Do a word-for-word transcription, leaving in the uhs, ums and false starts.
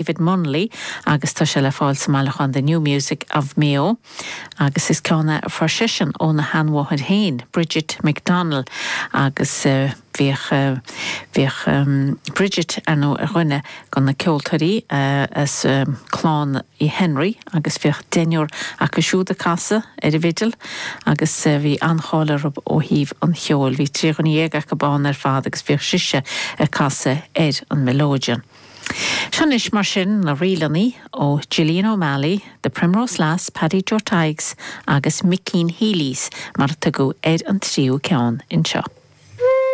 David Munnelly agus tá sé le fáil sa mbailiúchán The New Music of Mayo agus is ceann é a fuair seisean óna sheanmháthair féin, Bridget McDonnell agus uh, bhíodh uh, bhíodh um, Bridget ar nó ar dhuine de na ceoltóirí uh, as um, clann Uí Henry agus bhíodh deichniúr acu siúd ag casadh ar an bhfidil agus uh, bhí an-cháil orthu ó thaobh an cheoil, bhí trí dhuine dhéag acu ann ar fad agus bhíodh sise ag casadh ar an melodeon. Seo anois mar sin na ríleanna ó Gillian O'Malley, The Primrose Lass, Paddy Joe Tadhg's agus Mickeen Healy's mar a tugadh ar an tríú ceann anseo.